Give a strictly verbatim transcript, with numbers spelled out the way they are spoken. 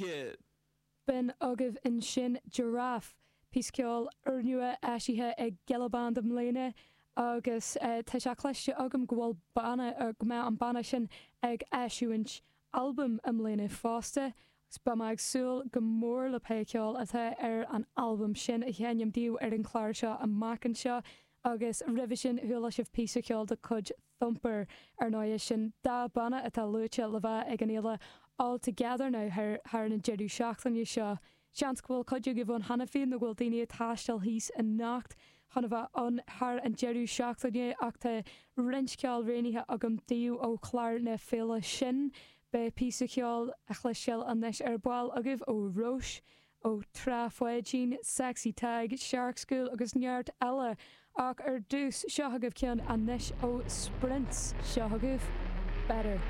Kid. B'in agaibh ansin Giraffe, píosa ceoil úrnua eisithe ag Gilla Band i mbliana agus tá sé cloiste agam go bhfuil banna, go mbeidh an banna sin ag eisiúint albam i mbliana fosta agus beidh mé ag súil go mór le pé ceol atá ar an albam sin a sheinm daoibh ar an chlár seo amach anseo agus roimhe sin chuala sibh píosa ceoil de chuid Thumper ar ndóigh sin dá banna atá luaite le bheith ag an fhéile All Together Now thar an deireadh seachtaine seo. Seans go bhfuil cuid agaibh ann cheana féin nó go bhfuil daoine ag taisteal thíos anocht chun a bheith ann thar an deireadh seachtaine ach tá roinnt ceoil roghnaithe agam daoibh ó chlár na féile sin. Beidh píosa ceoil a chloisteáil anois ar ball agaibh ó Róis, ó Trá Pháidín, Sexy Tadhg, Shark School agus neart eile ach ar dtús seo agaibh ceann anois ó Sprints seo agaibh Better.